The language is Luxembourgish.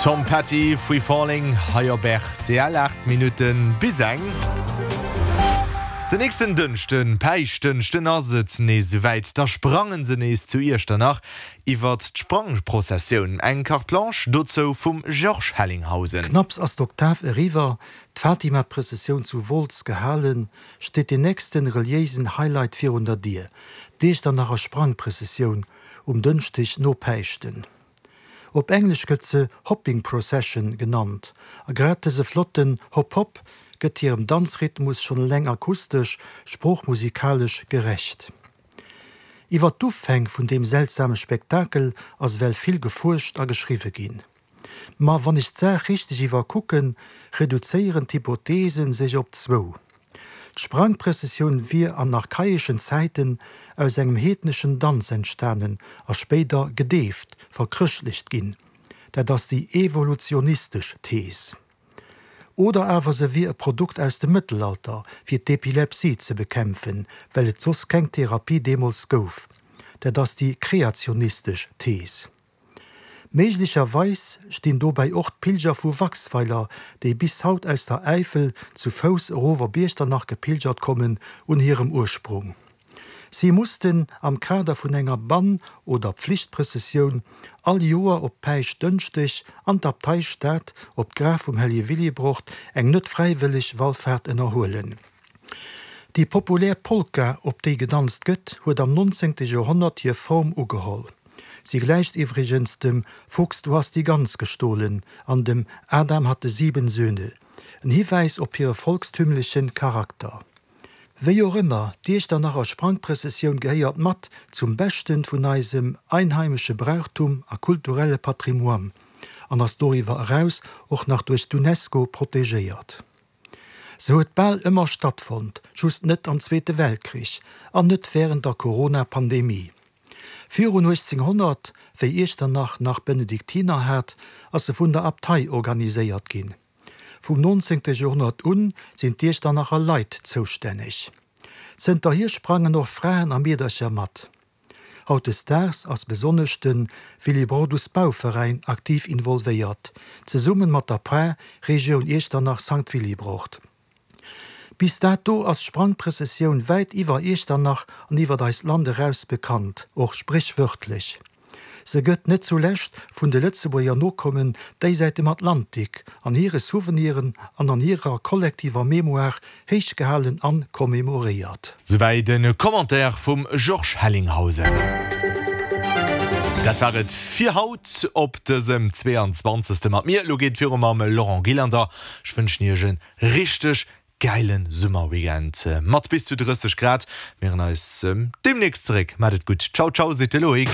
Tom Petty, Free Falling hei op rtl. 8 Minutten bis eng. Den nächsten Dënschden, Päischtdënschden, ass et nees esouwäit. Da sprangen se nees zu Iechternach iwwert d'Sprangprozessioun. Eng Carte Blanche dozou vum Georges Hellinghausen. Knapps ass d'Oktav eriwwer, d'Fatima-Prëssessioun zu Wolz gehalen, steet deen nächsten reliéisen Highlight virun der Dier, d'Iechternacher Sprangprëssessioun um Dënschdeg no Päischten. Op Englesch gëtt se Hopping Procession genannt, a grad dëse flotten Hop-Hop gëtt hirem Danzrhythmus schonn eleng akustesch, sproochmusikalesch gerecht. Iwwer d'Ufäng vun deem seltsame Spektakel ass ewell vill gefuerscht a geschriwwe ginn. Ma wann ech d'Saach richteg iwwerkucken, reduzéieren d'Hypothesen sech op zwou, D'Sprangprëssessioun wier an archaischen Zäiten aus engem heedneschen Danz entstanen a spéider gedeeft, verchrëschtlecht ginn, dat ass déi evolutionistesch Thees. Oder awer se wier e Produkt aus dem Mëttelalter, fir d'Epilepsie ze bekämpfen, well et soss keng Therapie deemools gouf, dat ass déi kreationistesch Thees. Méiglecherweis stinn dobäi och d'Pilger vu Waxweiler, déi bis haut aus der Äifel zu Fouss erof op Iechternach gepilgert kommen, un hirem Ursprung. Si mussten am Kader vun enger Bann oder Pflichtprëssessioun all Joer op Päischtdënschdeg an d'Abteistad op d'Graf vum Hellege Willibrord eng net fräiwëlleg Wallfaart ënnerhuelen. Déi populär Polka, op déi gedanzt gëtt, huet am 19. Joerhonnert hir Form ugeholl. Si gläicht iwwregens dem Fuchs, du hast die Gans gestohlen an dem Adam hatte sieben Söhne, en Hiwäis op hire volkstümleche Charakter. Wéi och ëmmer, d'Iechternacher Sprangprëssessioun gehéiert mat zum Beschten vun eisem einheimesche Brauchtum a kulturelle Patrimoine an ass doriwwer eraus och nach duerch d'UNESCO protegéiert. Se huet bal ëmmer stattfonnt, just net am Zweete Weltkrich an net wärend der Corona-Pandemie. Virun 1800, wéi Iechternach nach Benediktiner hat, ass se vun der Abtei organiséiert ginn. Vum 19. Joerhonnert un sinn d'Iechternacher Leit zoustänneg. Zënterhier sprangen och Fraen a Meedercher mat. Hautdesdaags ass besonnesch de Willibrordus Bauveräin aktiv involvéiert, zesummen mat der Par Regioun Iechternach Sankt Willibrord. Bis dato ass d'Sprangprëssessioun wäit iwwer Iechternach an iwwert eist Land eraus bekannt, och spréchwörtlech. Se gëtt net zulescht vun de Lëtzebuerger Nokommen déisäit dem Atlantik an hire Souveniren an an hirer kollektiver Mémoire héich gehalen an commémoréiert. Souwäit e Commentaire vum Georges Hellinghausen. Dat war et fir haut op dësem 22. Mat mir. Elo geet et viru mam Laurent Gillander. Ech wënschen iech e richteg gäile Summerweekend mat bis zu 30 Grad. Mir hören eis demnächst zeréck. Maat et gutt. Ciao ciao seet de Loïc.